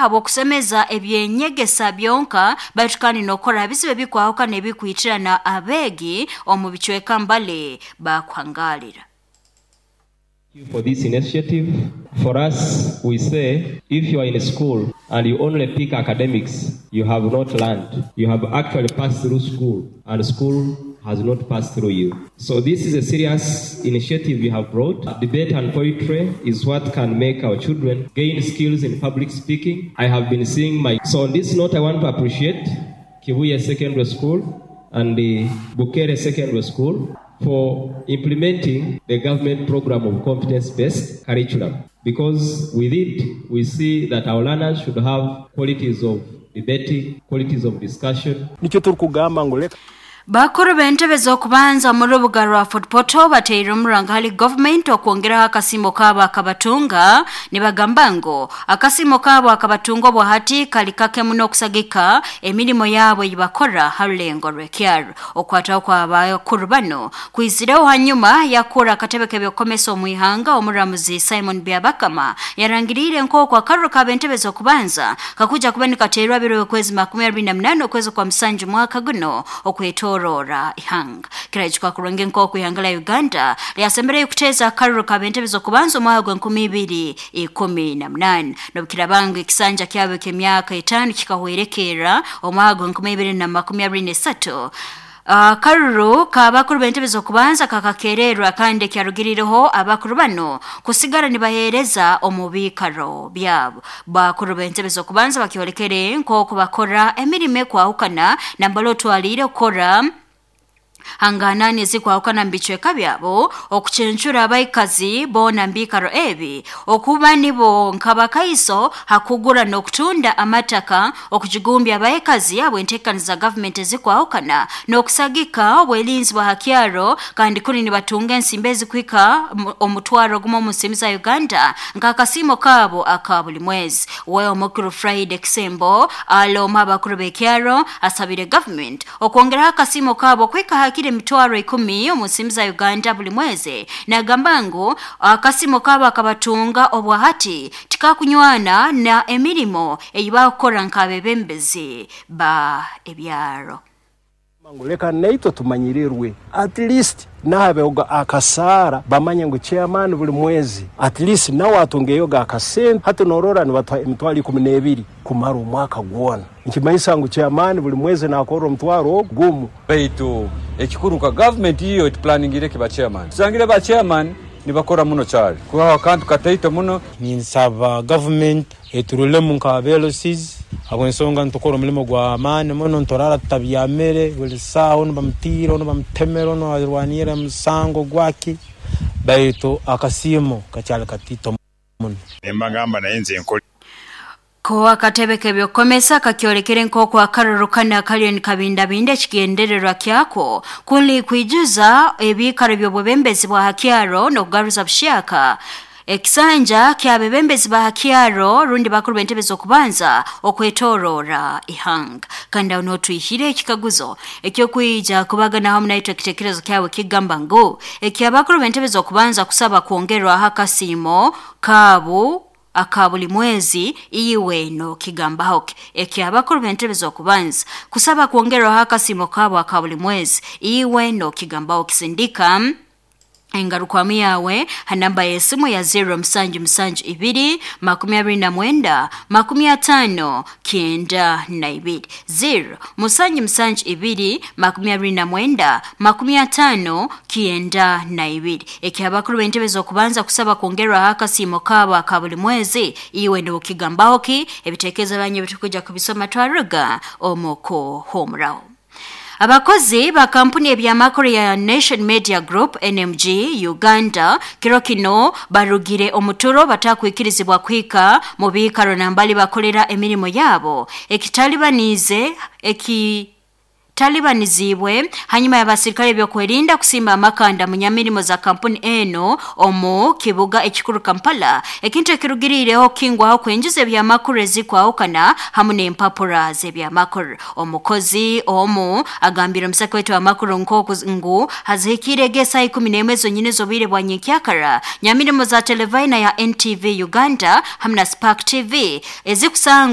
Habw'okusemeza ebyenyegesa byonka, baitu kandi n'okukora bizibu ebikwahukana ebikwitirana abeegi omu bicweka mbali bakuhangalira. You for this initiative. For us, we say if you are in school and you only pick academics, you have not learned. You have actually passed through school, and school has not passed through you. So this is a serious initiative you have brought. Debate and poetry is what can make our children gain skills in public speaking. I have been seeing my. So on this note, I want to appreciate Kibuye Secondary School and the Bukere Secondary School for implementing the government program of competence-based curriculum. Because with it, we see that our learners should have qualities of debating, qualities of discussion. Nikyo turukugamba ngu leka. Bakuru b'entebe z'okubanza mu rubuga rwa Fort Portal bateire omuranga hali government okwongeraho akasimo kaabo akabatunga. Nibagamba ngu akasimo kaabo akabatunga obwahati kali kake muno okusagika emirimo yaabo eyibakora ha rulengo rw'ekyaro. Okwataho kwa bakuru bano kwizireho hanyuma yakura akatebe k'ebyokukomesa omu ihanga. Omuramuzi Simon Byabakama yarangiriire nk'oku akaruru k'ab'entebe z'okubanza kakuja kuba nikateerwa biro okwezi 28 okwezi kwa 7 mwaka guno okwetorora ihanga. Kirajuka kurungi nk'oku ihanga la Uganda lyasembereyo kuteeza akaruru k'ab'entebe z'okubanza omwaka gwa 2018, n'obukirabanga ekisanja kyabo ky'emyaka 5 kikahwerekerra omwaka gwa 2023. Akaruru k'abakuru b'entebe z'okubanza kakakererwa, kandi kyarugirireho abakuru bano kusigara nibaheereza omu biikaro byabo. Bakuru b'entebe z'okubanza bakyolekere nk'oku bakora emirimo ekwahukana, nambala otwaliire okukora hanganani ezikwahukana mu bicweka byabo, okucencura abaikazi boona mu biikaro ebi, okuba nibo nk'abakaiso hakugura n'okutunda amataka, okujigumbya abaikazi habw'enteekaniza gavumenti ezikwahukana, n'okusagika obwerinzi bwa hakyaro, kandi kuni nibatunga ensimbi ezikuhika 10,000 omu nsimbi za Uganda nk'akasiimo kaabo aka buli mwezi. We omukuru Friday Kisembo aloma abakuru b'ekyaro asabire gavumenti okwongeraho akasiimo kaabo kuhika hakiri 10,000 omu nsimbi za Uganda buli mwezi. Nagamba ngu akasimo kaabo akabatunga obwahati tikakunywana na emirimo eyibakukora nk'abebembezi ba ebyaro. Ngu leka naitwe tumanyirirwe, at least nahabehoga akasaara bamanye ngu chairman buli mwezi at least nawe atungeyoga akasente. Hati norora nibatuha 12,000 kumara omwaka gwona, nkimanyisa ngu chairman buli mwezi nakora 10,000. Baitu ekikuru nka government iyo etuplaningire kiba chairman, tusangire ba chairman nibakora muno kyali kubaho akantu kataito muno. Ninsaba government eturulemu nka LCs habw'ensonga nitukora omulimo gw'amaani muno, niturara tutabyamire buli saaha, onu bamutiire, onu bamutemere, onu arwanire musango gwaki, baitu akasiimo kakyali katito muno. Nembagamba naye nze nkole. Ko akatebe k'ebyokukomesa kakyolekere nk'oku akaruru kanu kaliyo nikabindabinda, ekigendererwa kyako kuli kwijuza ebiikaro by'obwebembezi bwa hakyaro n'okugaruza bushyaka ekisanja kyabebembezi ba hakyaro rundi bakuru b'entebe z'okubanza okwetorora ihanga. Kandi aho notwihire ekikaguzo ekyokwija kubaganaho munaitwe. Ekitekerezo kyawe kigamba ngu ekyabakuru b'entebe z'okubanza kusaba kwongerwaho akasiimo kaabo aka buli mwezi, iwe no kigambaho ki? Ekyabakuru b'entebe z'okubanza kusaba kwongerwaho akasiimo kaabo aka buli mwezi, iwe no kigambaho? Kisindika engarukwamu yawe ha namba y'esimu ya 0772 29 50 92, 0772 29 50 92. Ekyabakuru b'entebe z'okubanza kusaba kwongerwaho akasiimo kaabo aka buli mwezi, iwe nokigambaho ki? Ebitekerezo byanyu bitukuja kubisoma twaruga omu kuhumuraho. Abakozi ba kampuni ebyamakuru ya Nation Media Group NMG Uganda kiro kino barugire omuturo batakwikirizibwa kuhika mu biikaro nambali bakolera emirimo yabo, ekitalibanize eki talibanizibwe hanyuma y'abasirikale byokwerinda kusimba amakanda mu nyamirimo za kampuni eno omu kibuga ekikuru Kampala, ekintu ekirugirireho kingwaho kwinjiza ebyamakuru ezikwahukana hamu n'empapura z'ebyamakuru. Omukozi omu agambire omusaka wetu w'amakuru nk'oku ngu hazihikire esaa 11 zonyine z'obwire bwa nyenkyakara, nyamirimo za televina ya NTV Uganda hamu na Spark TV ezikusanga